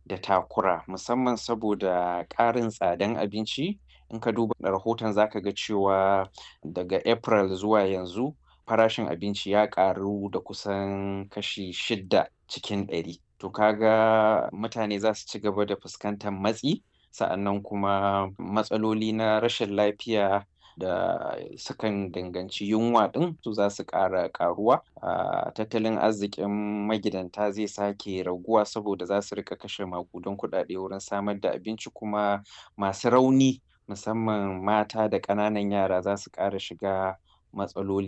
da takura, musamman saboda ƙarin tsadan abinci. In ka duba rahoton, za ka ga cewa daga April zuwa yanzu farashin abinci ya ƙaru da kusan kashi 6%. To ka ga mutane za su ci gaba da fuskantar matsi, sa'annan kuma matsaloli na rashin lafiya da sukan danganci yunwa ɗin su za su ƙara ƙaruwa. Tattalin arzikin magidanta zai sake raguwa saboda za su riƙa kashe maƙudan kuɗaɗe wurin samar da abinci, kuma masu rauni, musamman mata da ƙananan yara, za su ƙara shiga matsaloli.